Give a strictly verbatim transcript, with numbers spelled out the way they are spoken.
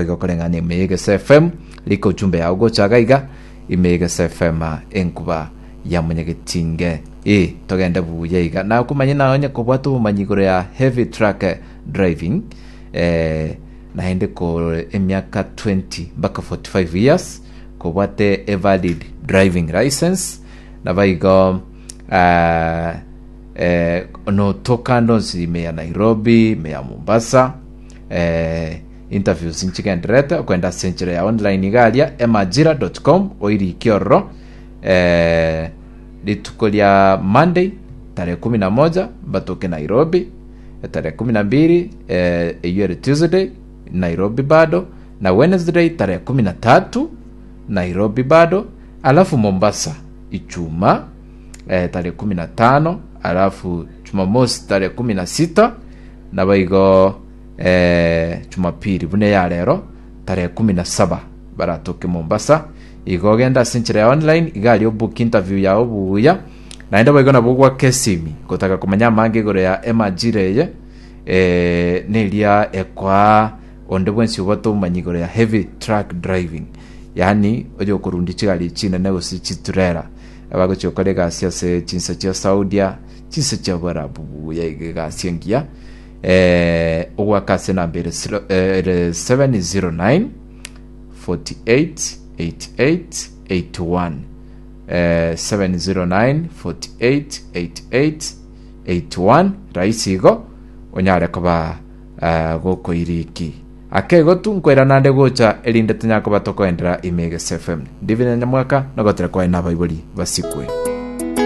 Igo koreng'ana ime y'Egesa F M, rika ujumbe yao gocha iga ime y'Egesa F M, enkuba ya Munyagetinge. E togende buya iga nakumanye nawe onye kobwata obomanyi igoro ya heavy truck driving, eh, naende ko emiaka twenty mpaka forty-five years, kobwate a valid driving license, nabaigo uh, eh, notoka ndonsi ime ya Nairobi, ime ya Mombasa. eh, interviews nchigenderete okwenda ase enchera ya online igaria emajira dot com oirikie ororo. eh, rituko ria Monday tarehe kumi na moja batoke Nairobi, tarehe kumi na mbili, eh, eywo ere Tuesday, Nairobi bado, na Wednesday tarehe kumi na tatu Nairobi bado, alafu Mombasa Ichuma, eh, tarehe kumi na tano, alafu Jumamosi tarehe kumi na sita, nabaigo eh, Jumapili buna ya rero tarehe kumi na saba baratoke Mombasa. Igo ogenda ase enchera ya online iga obook interview yao buya, naende baigo nabo gwaka esimi gotaka komanya amange igoro ya emajira eye, eh, neria ekoa onde bwensi obwate obomanyi igoro ya heavy truck driving, yaani oyo okorundi chigari chinene gose chiturera abagochia gokora egasi ase chinsa chia Saudia, chinsa chia Bwarabu buya iga egasi engiya. eh, ogwaka ase enamba ere zero- eh, ere seven zero nine forty-eight eighty-eight eighty-one, eh, seven zero nine forty-eight eighty-eight eighty-one, rahisi igo onyare koba uh, gokoiriki ake tu nkoira nande gocha erinde tonyare koba tokoendera ime Egesa F M. Ndivine Nyamwaka nogotera kwaye nabaibori basikwe.